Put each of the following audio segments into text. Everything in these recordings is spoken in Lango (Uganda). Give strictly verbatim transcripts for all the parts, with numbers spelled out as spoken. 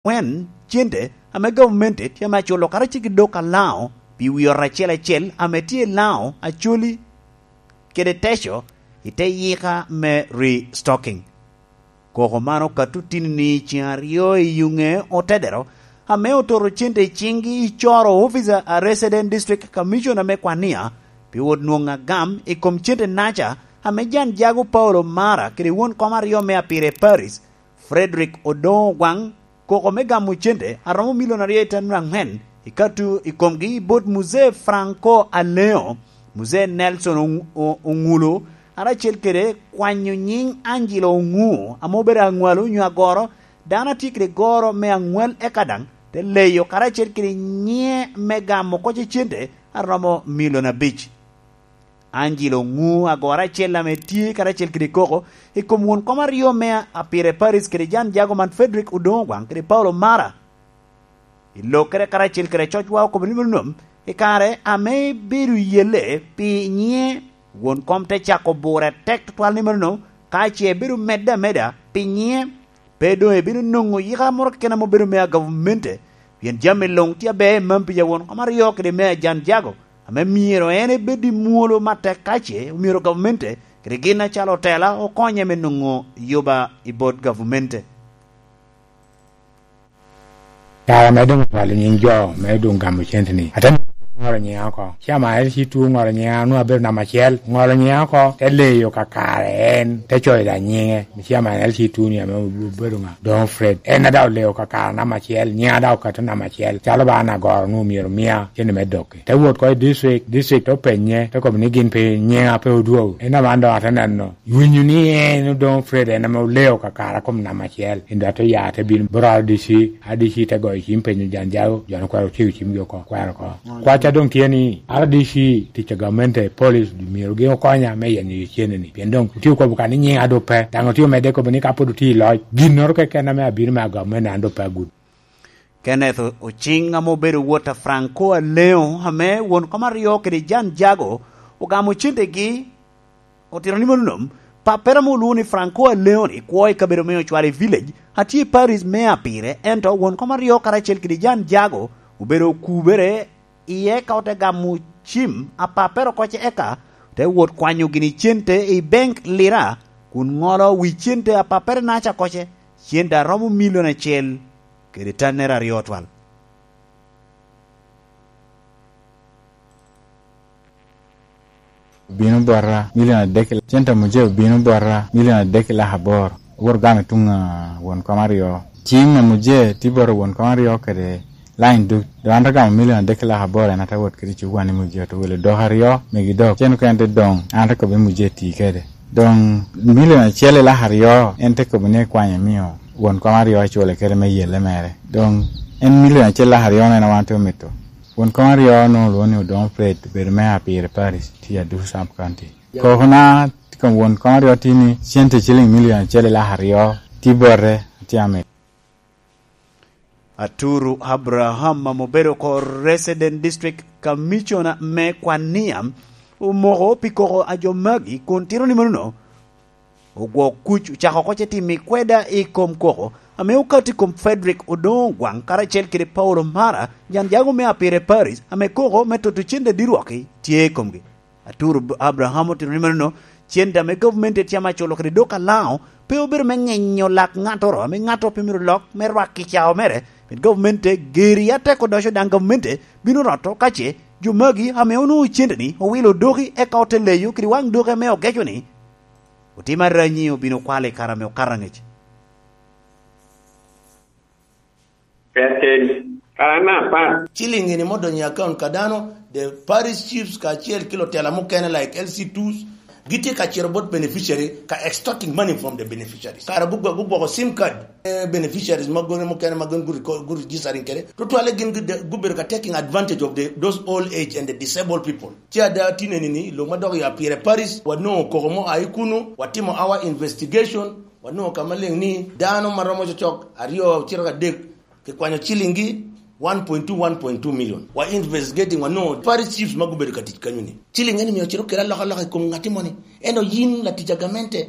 Kwen cente ame gavumenti tye ame aculo karacel ki dok a Laŋo pi wi ot acel acel ame tye i Laŋo, Acoli kede Teco i te yika me restocking. Koko man okato tini-ni ceŋ aryo i yuŋe otedero, ame ototo cente i ciŋgi i coro ofica a Resident District Commissioner me Kwania pi wot nwoŋo agam i kom cente naca ame Jan Jago Paulo Mara kede won kom aryo me Apire Paris, Frederick Odoŋo Ogwaŋ, koko me gamo cente a romo milion aryo i tano aŋwen i katu i komgi i bot Muzee Franco Aleo, Muzee Nelson Oŋ-, O-, Oŋulo, karacel kede kwanyo nyiŋ Angelo Oŋu ame obedo aŋwalo onyo agoro, dano a tye kede goro me aŋwal eka daŋ te leyo karacel kede nyiŋe me gamo koc i cente a romo milion abic. Angelo Oŋu, agoro acel ame tye karacel kede koko i kom won kom aryo me Apire Paris kede Jan Jago man, Frederick Odoŋo Ogwaŋ kede Paulo Mara, i lokkere karacel kede cocwa okobo ni mano nom, i kare ame bedo yelle pi nyiŋe, won kom te cako bure atek tutwal ni mano nom, ka ce ebedo medde ameda pi nyiŋe, pe doŋ ebino nwoŋo yika moro keken ame obedo me agavumenti, pien jami luŋ tye aber i mam pi awon kom aryo kede me Ajan Jago, ame myero en ebed i mwolo matek ka ce omyero gavumenti kede gin acalo otela okonye me nwoŋo yuba i bot gavumenti. Kare ame doŋ otwalo nyiŋ jo me doŋ gamo cente-ni, ate ŋolo nyiŋa oko. Ci ama L C two oŋolo nyiŋa, onwoŋo abedo namba acel, oŋolo nyiŋa oko, te leyo kakare en, te coyo da nyiŋe. Ci ama L C two-ni ame obedo ŋa? Don Fred. En a daŋ oleyo kakare namba acel, nyiŋa daŋ okato namba acel. Calo ba an agoro onwoŋo myero omia cente me dok. Te wot oko i district, district te penye, te kobo ni gin pe, nyiŋa pe odwogo. En aman doŋ ate neno, winyo ni en Odoŋo Fred en ame oleo kakare kom namba acel. En doŋ ate ya, ate bino bot R D C, R D C te goyo cim penyo Jan Jago, jo-nu kwero otye cimgi oko, kwero oko. Kwacca doŋ tye ni, R D C, tic a gamente, police, myero gin okonya me yenyo cene-ni. Pien doŋ otye okobo ka ni nyiŋa doŋ pe, daŋ otye omedde kobo ni ka pwod otye i loc, ginnoro keken ame abino me agamo mene an doŋ pe agudo. Kenneth Ociŋ ame obedo wot a Franco Aleo, ame won kom aryo kede Jan Jago, ogamo centegi, otito ni mano nom, pappere ame olwoŋo ni Franco Aleo-ni kwo i kabedo me Ocwali Village, a tye i parish me Apire, ento won kom aryo karacel kede Jan Jago obedo okubere iye ka ote gamo cim a pappere oko ce eka te wot kwanyo gini cente i bank Lira, kun ŋolo wi cente a pappere naca oko ce, cente a romo milion acel kede tannere aryo twal. Obino bota milion adek, cente a muje obino bota milion adek ki lak aboro. Owoto gamo i tuŋ a won kom aryo. Cim a muje tye bota won kom aryo kede line duc. Doŋ an te gamo milion adek ki lak aboro, en ate wot kede i cuk wan i muje, ote wilo dok aryo, megi dok. Cen okene te doŋ, an te kobbe muje ti kede. Doŋ milion acel i lak aryo, en te kobo ni ekwanyo emio won kom aryo ecule kede me yelle mere. Doŋ en milion acel lak aryo-nu en a wan te omito. Won kom aryo onwoŋo olwoŋo ni Odoŋo Fred, obedo meya pire parish, tye Aduku Sub County. Kokona i kom won kom aryo tye ni cente ciliŋ milion acel i lak aryo tye bote, atye amito. Aturu Abraham ame obedo oko Resident District Commissioner me Kwania omoko pi koko a jo magi kun tito ni manono ogwo kuc ocako oko ce timo i kweda i kom koko ame okato i kom Frederick Odongo Ogwang karacel kede Paulo Mara, jan jago me Apire Paris, ame koko me toto cente dirwok-ki tye i komgi. Aturu Abraham otito ni manono, cente ame gavumenti tye ame aculo kede dok alaŋo pe obedo me ŋenyo lak ŋattoro ame ŋatto pe myero lok me rwak i cao mere, pien gavumenti geri atek odoco daŋ gavumenti bino roto ka ce jo magi ame onwoŋo cente-ni owilo odoki eka ote leyo kede waŋ doki ame ogeco-ni otimo aranyi obino kwalo i kare ame okato angec. Keken, kara me apar. Ciliŋ eni me odonyo i akaunt ka dano, the parish chiefs kacel ki lutela mukene like L C twos, gitye ka cito bot beneficiary ka extorting money from the beneficiaries. Kara gugwoko sim card, eh, beneficiaries ma gone mukene ma gin gu registering kede. Tutwalle gin gubedo ka taking advantage of the, those old age and the disabled people. Ci ada tineni ni lo ma dok ya pire parish, wanongo koko mo ayi kunu, watimo our investigation, wanongo ka maleng ni dano ma romo cocok aryo ocito ka dek kikwanyo ciliŋgi one point two, one point two million. Wa investigating, wanongo parish chiefs ma gubedo ka tic kanyo ni. Ciliŋ eni myero ocito kede alokaloka i kom ŋatti moni. Ento yin latic a gamente,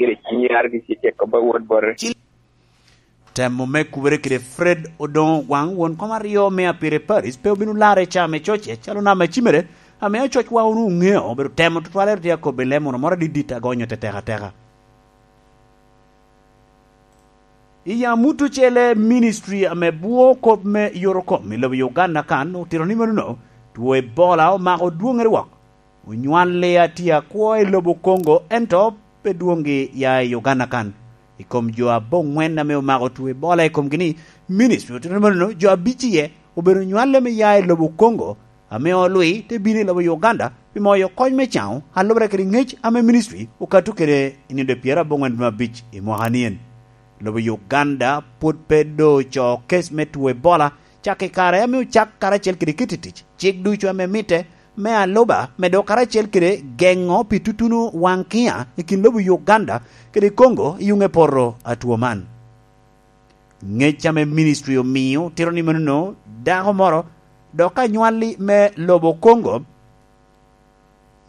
gire cinyar gi cik kobba wot bote. Temo me kubere kede Fred Odongo Ogwang, won kom aryo me Apire Paris, pe obino larre i caa me cocce, calo nam acimere, ame acocwa wunu oŋeo, obedo temo tutwalere tye akobbe lemo moro moro adidit agonyo tetek ateka. I amut ocele, ministry ame bwo kop me yorokom i lobo Uganda kan otito ni menono, two Ebola omako dwoŋere wok. Onywalli atye akwo i lobo Congo, ento pe dwoŋgi ya i Uganda kan. I kom jo aboŋwen ame omako two Ebola i komgi ni, ministry otito ni menono, jo abic iye obedo nywale me ya i lobo Congo, ame olwi te bino i lobo Uganda pi moyo kony me caŋo, alubere kede ŋec ame ministry okato kede i nino pyero aboŋwen dwe abic i mwaka nien. Lobo Uganda pwod pe do co kes me two Ebola, cak i kare ame ocak karacel kede kit i tic cik ducu ame mitte me aluba, medo karacel kede geŋo pi tutuno waŋ kiŋa i kin lobo Uganda kede Congo i yuŋe poto a two man. Ŋec ame ministry omio tito ni menono, dako moro dok anywalli me lobo Congo.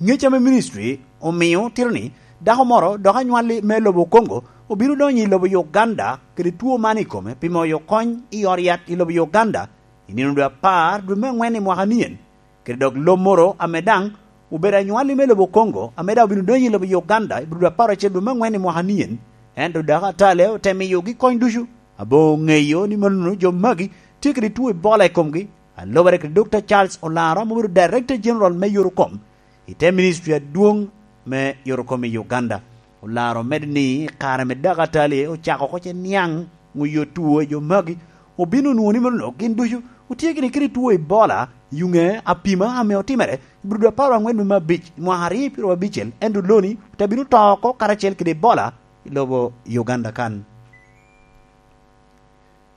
Ŋec ame ministry omio tito ni, dako moro dok anywalli me lobo Congo obino donyo i lobo Uganda kede two man i kome pi moyo kony i ot yat i lobo Uganda i nino dwe apar dwe me aŋwen i mwaka nien. Kede dok lo moro ame daŋ obedo anywalli me lobo Congo, ame daŋ obino donyo i lobo Uganda i dwe apar acel dwe me aŋwen i mwaka nien, ento dako atale ote miyogi kony ducu. Aboŋo ŋeyo ni manono jo magi tye kede two Ebola i komgi, alubere kede Dokta Charles Olaro ame obedo Director General me Yorokom i te ministry adwoŋ me Yorokom i Uganda. Olaro omedo ni i kare me dako atali ocako oko ce niaŋ ŋuyo two i jo magi, obino onwoŋo ni manono gin ducu otye gini kede two Ebola i yuŋe apima ame otimere i Burudu apar aŋwen me abic i mwaka aryo pyero abicel, ento loni ote bino to oko karacel kede Ebola i lobo Uganda kan.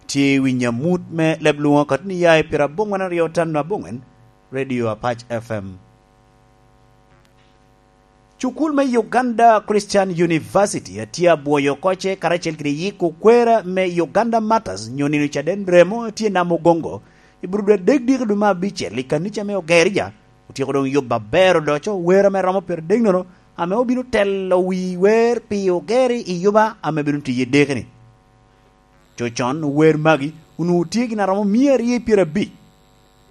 Tye i winyo amut me leb lwoŋo katoni ya i pyero aboŋwen aryo tano aboŋwen, Radio Apac F M. Cukul me Uganda Christian University atye abwoyo oko ce karacel kede yiko kwera me Uganda Martyrs nyo nino caden remo atye Namugongo i Burudu adek diki dwe me abicel i kanica me Ogerija. Otyeko doŋ yubo aber odoco wer ame romo pyero adek nono, ame obino telo wi wer pi Ogeri i yuba ame bino tiye deki-ni. Cocon ower magi onwoŋo tye gin aromo mia aryo pyerabic,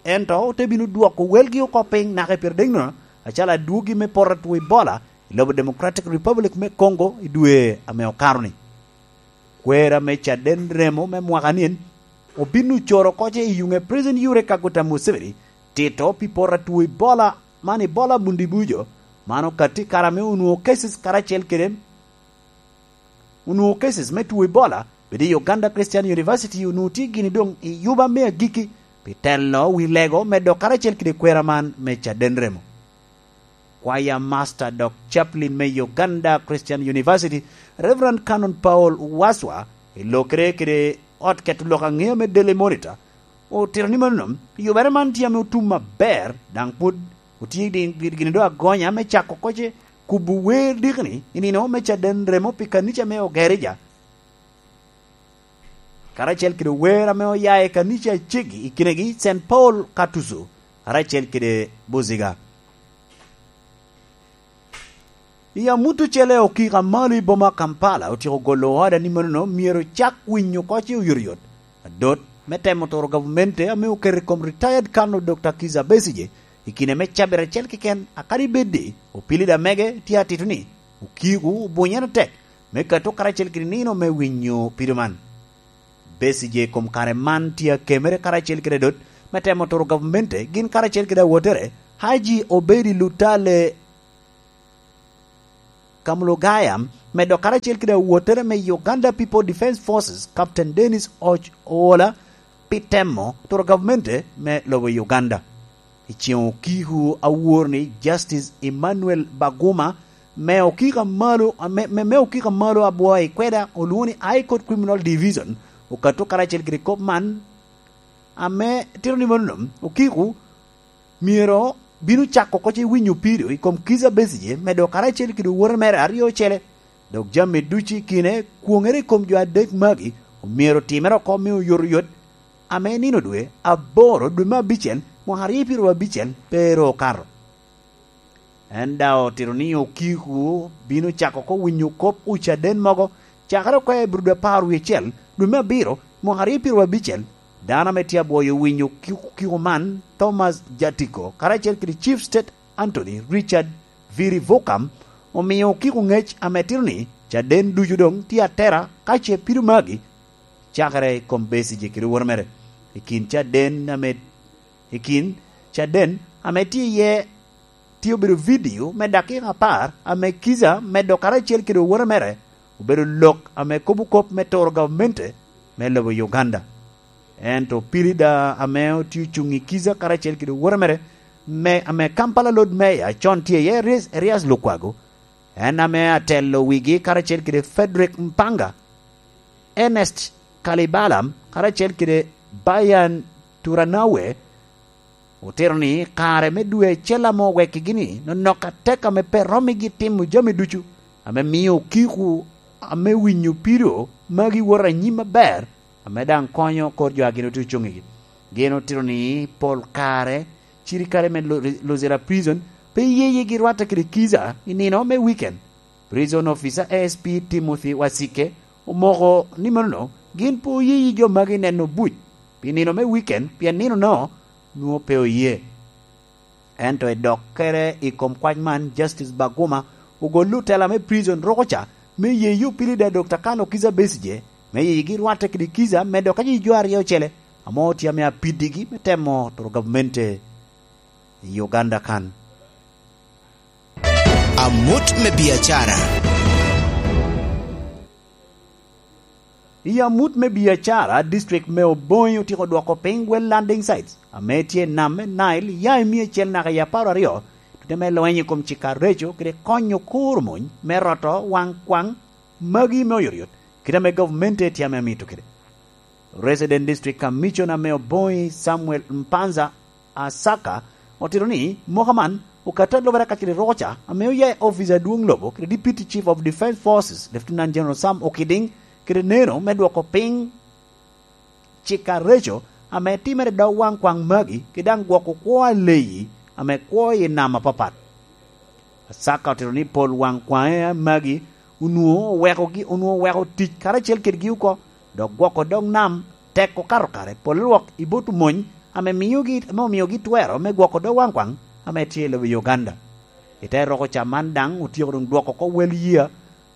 ento ote bino dwoko welgi oko piny naka i pyeradeŋ nono, acalo adwogi me poto atwo Ebola i lobo Democratic Republic me Congo i dwe ame okato-ni. Kwera me caden remo me mwaka nien obin ocoro oko ce i yuŋe President Yoweri Kaguta Museveni tito pi poto atwo Ebola man, Ebola Bundibugyo, man okatti kare ame onwoŋo cases karacel kede onwoŋo cases me two Ebola, bed i Uganda Christian University onwoŋo tye gini doŋ i yuba me agikki pi telo wi lego me dok karacel kede kwera man me caden remo. Kwaya Master dok Chaplain me Uganda Christian University, Reverend Canon Paul Waswa, i lokere kede ot keto lok aŋeo me Daily Monitor, otito ni mano, yubere man tye ame otum aber, daŋ pwod otye gini doŋ agonya me cako oko ce kubo wer diki-ni i nino me caden remo pi kanica me Ogerija, karacel kede wer ame oya i kanica acegi i kinegi Saint Paul Katuzu, karacel kede Buziga. I amut ocele okika malo i boma Kampala otyeko golo oda ni manono myero cak winyo oko ce oyotoyot. Adot me temo turo gavumenti ame oketo i kom retired Colonel Dokta Kizza Besigye i kine me cabit acel keken, akadi bed ni opilida mege tye atito ni okiko obunye atek me kato karacel kede nino me winyo pido man. Besigye i kom kare man tye akemere karacel kede adot me temo turo gavumenti gin karacel kede awotere Haji Obedi Lutale Kamulugaya, medo karacel kede awottere me Uganda People Defence Forces, Captain Dennis Och Oola, pi temo turo gavmente me lobo Uganda. I ceŋ okiko awor ni Justice Emmanuel Baguma me okiko amalo, me, me, me okiko amalo abwo i kweda olwoŋo ni High Court Criminal Division okato karacel kede kop man, ame tito ni mano okiko myero bino cako oko ce winyo pido i kom Kizza Besigye medo karacel kede owote mere aryo ocele, dok jami ducu i kine kwoŋere i kom jo adek magi omyero otimere oko me oyotoyot, ame nino dwe aboro dwe me abicel mwaka aryo pyeraryo abicel pe ru okato. En daŋ otito ni okiko bino cako oko winyo kop ocaden mogo cakere oko i bur dwe apar wie acel dwe me abiro mwaka aryo pyeraryo abicel. Dano ame tye abwoyo winyo kiko, kiko man, Thomas Jatiko, karacel kede Chief State Attorney Richard Viri Vokam, omio okiko ŋec ame tito ni caden ducu doŋ tye atera ka ce pido magi cakere i kom Besigye kede owote mere. I kin caden ame, i kin caden ame tye iye tye obedo vidio me dakika apar ame Kizza medo karacel kede owote mere obedo lok ame kobo kop me turo gavmente me lobo Uganda. Ento Pilida ame otye ocuŋ i Kizza karacel kede owote mere me, ame Kampala Lord Mayor con tye iye, Erias, Erias Lukwago, en ame atelo wigi karacel kede Frederick Mpanga, Ernest Kalibala karacel kede Bayan Turanawe, otito ni kare me dwe acel ame owekkigi-ni nonok atek ame pe rommigi timo jami ducu ame mio okiko ame winyo pido magi woto anyim aber, ame daŋ konyo kor jo a gin otye ocuŋ igi. Gin otito ni pol kare cirikale me Lu-, Luzira Prison pe yeyegi rwatte kede Kizza i nino me weekend. Prison Officer A S P Timothy Wasike omoko ni mano gin pe oyeyi jo magi neno buc pi nino me weekend, pien nino-no nwoŋo pe oye. Ento i dokkere i kom kwac man, Justice Baguma ogolli otela me prison ruko ca me yeyi opilida Dokta Kano Kizza Besigye me yeyigi rwatte kede Kizza medo ka jo aryo ocele ame otye ame apiddigi me temo turo gavmente i Uganda kan. Amut me biacara. I amut me biacara, district me Obongi otyeko dwoko piny well landing sites ame tye i nam me Nile ya i miya acel naka i apar aryo, tute me lweny i kom cik areco kede konyo kuro mony me roto waŋ kwaŋ magi me oyotoyot, kit ame gavumenti tye ame amito kede. Resident District Commissioner me Obongi, Samuel Mpanza Asaka, otito ni moka man okato alubere ka kede ruko ca ame oya i ofice adwoŋ lobo kede Deputy Chief of Defence Forces, Lieutenant General Sam Okiding, kede neno me dwoko piny cik areco ame timere i dog waŋ kwaŋ magi, kede daŋ gwoko kwo aleyi ame kwo i nam apapat. Asaka otito ni pol waŋ kwaŋe magi onwoŋo owekogi, onwoŋo oweko tic karacel kedgi oko, dok gwoko dog nam tek okato kare, pol lwak i bot omony ame miogi, ame omiogi twero me gwoko dog waŋ kwaŋ ame tye i lobo Uganda. I te roko ca man daŋ otyeko doŋ dwoko oko wel yia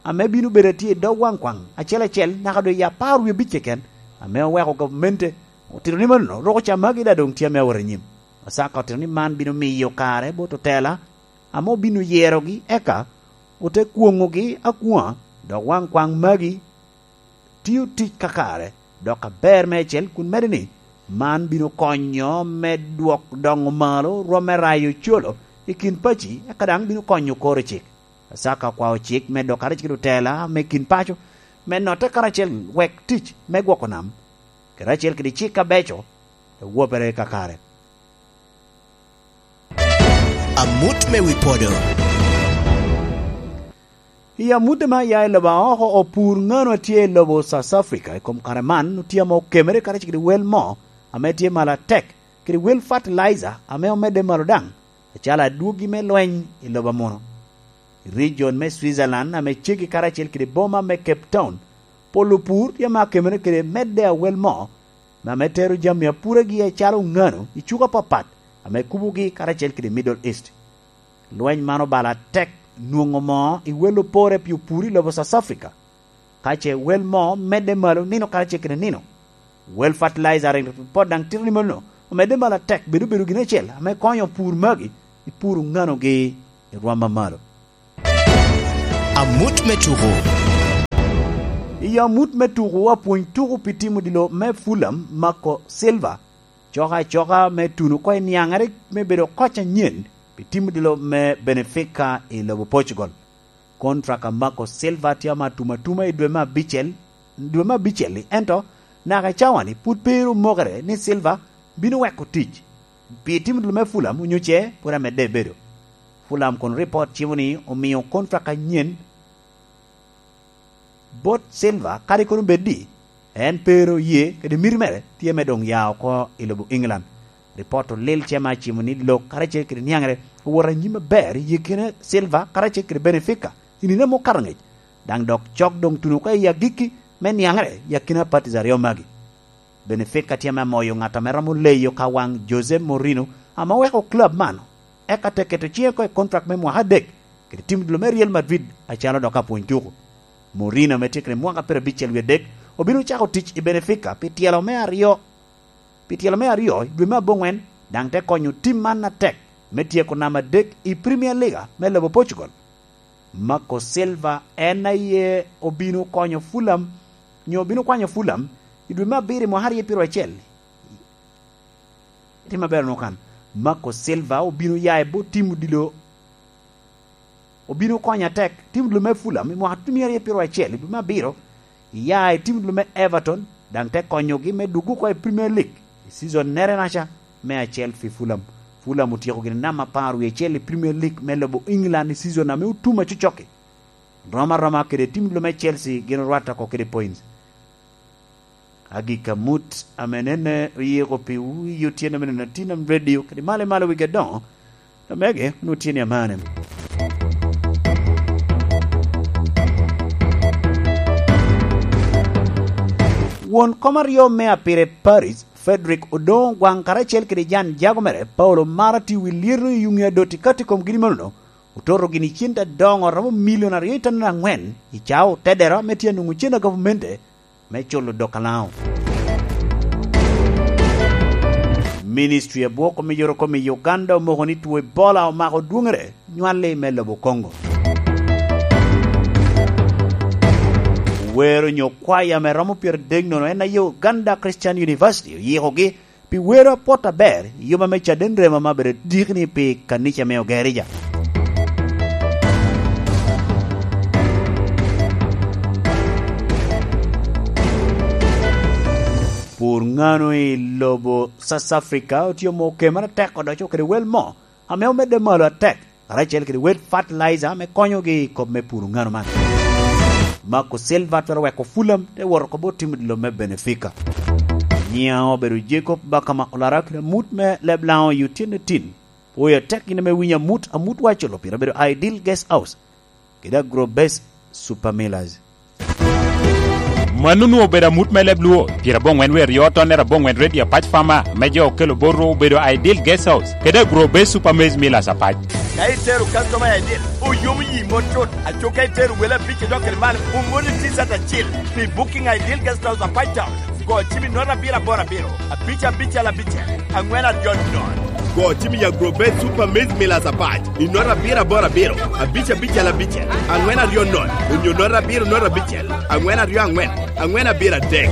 ame bino bedo atye i dog waŋ kwaŋ acel acel naka doŋ i apar wie abic keken, ame oweko gavmente otito ni mano roko ca magi daŋ doŋ tye ame awot anyim. Asaka otito ni man bino miyo kare bot otela ame obino yerogi, eka ote kwoŋogi akwoŋa, dok waŋ kwaŋ magi tio tic kakare, dok aber meicel, kun medde ni man bino konyo me dwok doŋo malo rwom me rayo colo i kin paci, eka daŋ bino konyo koro cik. Asaka okwao cik me dok karacel kede otela me kin paco me notte karacel wek tic me gwoko nam karacel kede cik abeco ewopere kakare. Amut me wi podo. I amutte me aya i lobo aoko, opur ŋano a tye i lobo South Africa i kom kare man otye ame okemere karacel kede wel mo ame tye malo atek, kede wel fertilizer ame omedde malo daŋ, acalo adwogi me lweny i lobo amuno. I region me Switzerland ame ceggi karacel kede boma me Cape Town, pol opur tye ame okemere kede medde a wel mo ame tero jami apuregi acalo ŋano i cuka apapat ame kubogi karacel kede Middle East. Lweny man obalo atek nwoŋo moo i wel opore pi opur i lobo South Africa, ka ce wel moo medde malo nino karacel kede nino. Wel fertilizer rik pot daŋ tito ni mano omedde malo atek, bedo bedo gin acel ame konyo opur magi i puro nganogi i rwam amalo. Amut me tuko. I amut me tuko, apwony tuko pi tim odilo me Fulham, Marco Silva, coka acoka me tuno oko i niaŋere me bedo koc anyen pi tim odilo me Benfica i lobo Portugal. Kontrak a Marco Silva tye ame atum atuma i dwe me abicel, dwe me abicel-li, ento naka i cawa-ni pwod pe ru mokere ni Silva bino weko tic pi tim odilo me Fulham onyo ce pwod amedde bedo. Fulham kun ripot cimo ni omio kontrak anyen bot Silva, kadi kono bed ni en pe ru oye kede miti mere tye me doŋ ya oko i lobo England. Ripot olil ce ame acimo ni lok karacel kede niaŋere owoto anyim aber i yekine Silva karacel kede Benfica i nino ame okato angec, daŋ dok cok doŋ tuno oko i agikki me niaŋere i akina patis aryo magi. Benfica tye ame amoyo ŋat ame romo leyo ka waŋ Jose Mourinho ame oweko club man, eka te keto ciŋe oko i kontrak me mwaka adek kede tim odilo me Real Madrid acalo dok apwony tuko. Mourinho ame tye kede mwaka pyerabicel wie adek obino cako tic i Benfica pi tyelo me aryo, pi tyelo me aryo i dwe me aboŋwen, daŋ te konyo tim man atek me tyeko namba adek i Premier League me lobo Portugal. Marco Silva en aye obino konyo Fulham, nyo obino kwanyo Fulham i dwe me abiro i mwaka aryo pyeraryo acel. Itimo maber onwoŋo kan. Marco Silva obino ya i bot tim odilo, obino konyo atek tim odilo me Fulham i mwaka atum aryo pyeraryo acel i dwe me abiro, ya i tim odilo me Everton, daŋ te konyogi me dwogo oko i Premier League i season nere naca me acel pi Fulham. Fulham otyeko gin namba apar wie acel i Premier League me lobo England i season ame otum acocok-ki. Rom aroma kede tim odilo me Chelsea gin orwatte oko kede points. Agikki amut ame nene oyiko piwu i otyeno me nino Tinam Radio kede malo i malo wigi adoŋo, omege onwoŋo tye ni amane. Won kom aryo me apire Paris, Frederick Odongo Ogwaŋ karacel kede jan jago mere Paulo Mara tye wi lyeto i yuŋe adot i kati kom gin manono, ototo gini cente adoŋo romo milion aryo i tanere aŋwen i cawa otedero ame tye anwoŋo cen a gavumende me culo dok alaŋo. Ministry a bwoko me yorokom i Uganda omoko ni two Ebola omako dwoŋere nywalli me lobo Congo. Wer onyo kwaya me romo pyeradek nono en aye Uganda Christian University oyikogi pi wero apwot aber i yoma me caden remo ame abedo dikni pi kanica me Ogerija. Pur ŋano i lobo South Africa otye omo kema atek odoco kede wel mo ame omedde malo atek, karacel kede wel fertilizer me konyogi i kop me puro ŋano man. Marco Silva twero weko Fulham te wot oko bot tim odilo me Benfica. Nyiŋa obedo Jacob Bakama Olara kede amut me leb Laŋo i otyeno tin. Pwoyo atek in ame winyo amut, amut waco lo pire obedo Ideal Guest House kede Agrobase Super Millers. Mano onwoŋo obedo amut me leb Luo, pyeraboŋwen wie aryo tonnere aboŋwen ready apac fama me jo okelo botwu obedo Ideal Guest House kede Agrobase Super Maize Millers apac. Ka itero customer I D, oyomo yi mot cut. Aco ka itero wele abic idok kede malo, omoni T-shirt acil. Pi booking Ideal Guest House apac town, go cim i nota abiro aboro abiro, abic abicel abicel, aŋwen aryo nono. Go cim i Agrobet Super Maize Millers apac i nota abiro aboro abiro, abic abicel abicel, aŋwen aryo nono, onyo nota abiro nota abicel, aŋwen aryo aŋwen, aŋwen abiro adek.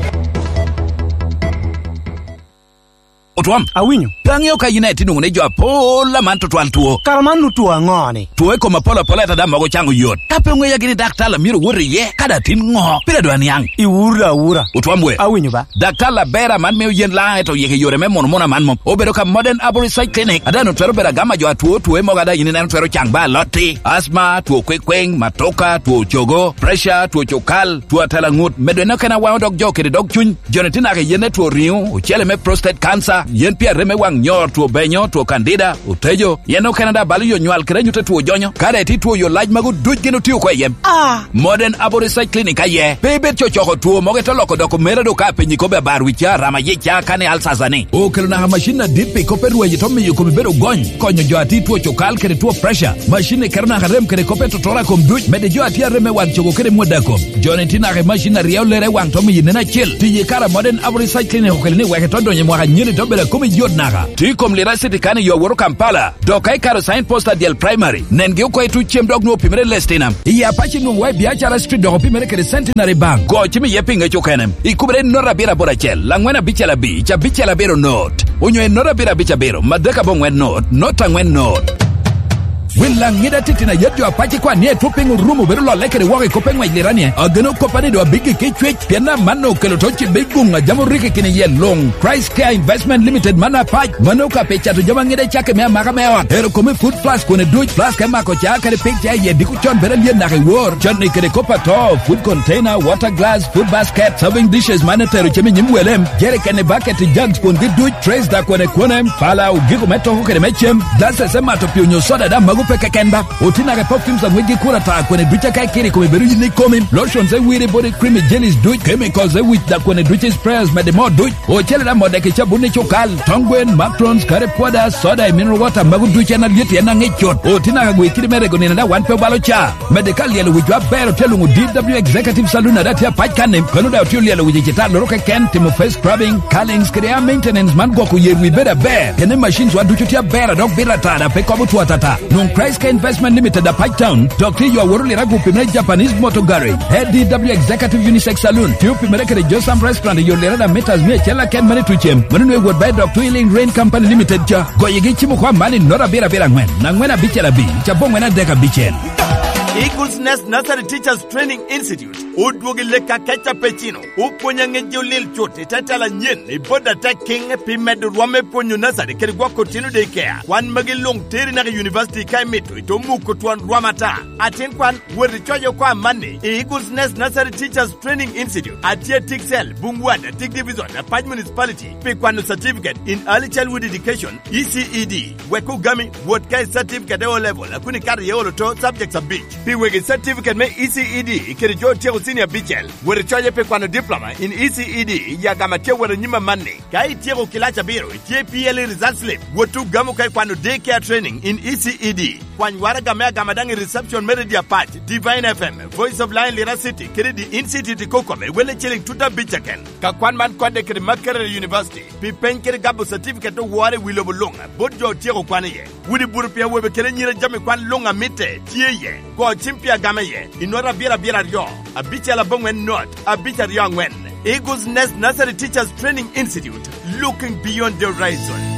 Otwom. Awinyo. Pe aŋeo ka in aye tye nwoŋo ni jo apol aman tutwal two. Kara man nu two aŋo-ni? Two i kom apol apola ata daŋ mogo caŋo yot. Ka pe oŋeya gini daktar a myero owot iye, ka daŋ tin ŋo? Pire dwa niaŋ. Iwura awura. Otwom we. Awinyo ba. Daktar aber aman mio yen laŋ eto yik i yore me muno muno aman mom. Obedo ka Modern Arborist Research Clinic, a daŋ twero bedo agama jo atwo two mogo a daŋ in ineno twero caŋ ba alotti, asma, two kwekweŋ, matoka, two cogo, pressure, two cukal, two atela ŋut, medo en okene awaŋo dog jo kede dog cuny. Joni tye naka i yen me two riŋo, ocele me prostate cancer, yen pi arem me waŋ nyor, two benyo, two candida, otejo, yen okene daŋ balo yo nywal kede anyut a two jonyo. Ka daŋ itye two yo lac magu duc gin otio oko i yem. Ah! Modern Abo Research Clinic aye. Pe ibed cocoko two mogo ite loko doko mera do ka apenyi kobbe abar wicca, rama yicca, kani alsasa ni. Okelo naka macin adit pi kop me rweny ito miyo komi bedo gony, konyo jo a tye two cukal kede two pressure. Macin ni keto naka rem kede kop me totoro a kom duc, medde jo a tye arem me wang cogo kede mwada kom. Joni tye naka i macin a ryeo lere i wang to miyo nen acil. Tiyo i kare a Modern Abo Research Clinic okelo ni wek ito donyo i mwaka anyen ito bedo Kome yot naka. Tye i kom Lira City kan i yo awoto Kampala. Dok ka ikaro sign post adyel primary, nengi oko i tuc cem dok nwoŋo opimere Lestinam. I Apac inwoŋo wa i Biacara Street dok opimere kede Centenary Bank. Go cim iye pi ŋec okene. Ikubere i not abiro aboro acel, angwen abicel abic, abicel abiro not. Onyo i not abiro abic abiro, madek aboŋwen not, not angwen not. Wil laŋ ŋida titino ayet jo Apac ikwan ni etwo piny orumo bedo lolle kede woko i kop eŋwec Lira ni, ageno koppa ni do abiggi ki cwec, pien amanno okelo to cibe i guŋ a jam orikki kine iye luŋ. Christ Care Investment Limited man Apac, mano ka pe cato jami aŋida i cakke me amaka me ot. Ero kome food plus kone duc, plus ka imako ca kede pig ca iye diko con bedo alyen naka i wor. Con ni kede kop ato, food container, water glass, food basket, serving dishes man etero cem i nyim wele, jerikene, bucket, jugs, kwongi duc, trays da kone kone, pala, ogiko me toko kede me cem, glasses me mato pi onyo soda da mago pe keken ba. Oti naka perfumes aŋwec gi kura ta kone duc aka ikiri kome bedo yin ikomi, lotions e wiri body cream i jellies duc, chemicals e wic da kone duc i sprayers mede mo duc, ocele da modek i cabun i cukal, tong gwen, matrons, kare pwoda, soda i mineral water mago duc en alyet en aŋic cut. Oti naka gwe kidi me rego nino da wan pe obalo ca. Mede ka lyelo wicwa aber otye luŋo D W Executive Saloon ada tye apac kan-ni, kano daŋ otye olyelo wic i cita loro keken, timo face scrubbing, curlings kede hair maintenance man gwoko yer wi bedo aber. Kene machines wa ducu tye aber a dok bito ata da pe kobo two atata. Nwoŋ Christ Care Investment Limited Apac Town, dok tye yo aworo Lira gupi me Japanese Motor Garage. A D W Executive Unisex Saloon, tye opimere kede Josam Restaurant i yo Lira da meters mia acel aken mane tucem. Mano nwe wot ba i dok Twilling Rain Company Limited ca. Goyegi cimo kwa man i not abiro abiro angwen, angwen abicel abic, aboŋwen adek abicel. Eagles Nest Nursery Teachers Training Institute odwogo i lek akeca pe cino. Opwony aŋeji olil cut i te tela anyen i bot atek kiŋ pi medo rwom me pwonyo nasari kede gwoko otino daycare. Kwan magi luŋ teri naka i univaciti ka imito ito muko twon rwom ata. Atin kwan, wot icoc oko amanni i Eagles Nest Nursery Teachers Training Institute, atye i Tiksel, Bungwat, Atik Division, Apac Municipality, pi kwano certificate in Early Childhood Education, E C E D. Wek ogami, wot ka i certificate e O Level, a kun ikato iye olo to subjects abic. Pi wegi certificate me E C E D kede jo otyeko senior abicel, wot icoye pi kwano diploma in E C E D i agama tye wot anyim amanni. Ka ityeko kilac abiro, itye P L E result slip, wot ogamo ka ikwano daycare training in E C E D. Kwany waraga me agama daŋ i reception me Radio Apac, Divine F M, Voice of Lion Lira City, kede The Institute i Kokome, welle ciling tut abic keken. Ka kwan man kodde kede Makerere University, pi peny kede gabo certificate owore i wi lobo luŋ, bot jo otyeko kwan iye. Wudi buro pi awobe kede anyira jami kwan luŋ a mitte tye iye. Go cim pi agama iye, i not abiro abiro aryo, abicel aboŋwen not, abic aryo aŋwen. Eagles Nest Nursery Teachers Training Institute, looking beyond the horizon.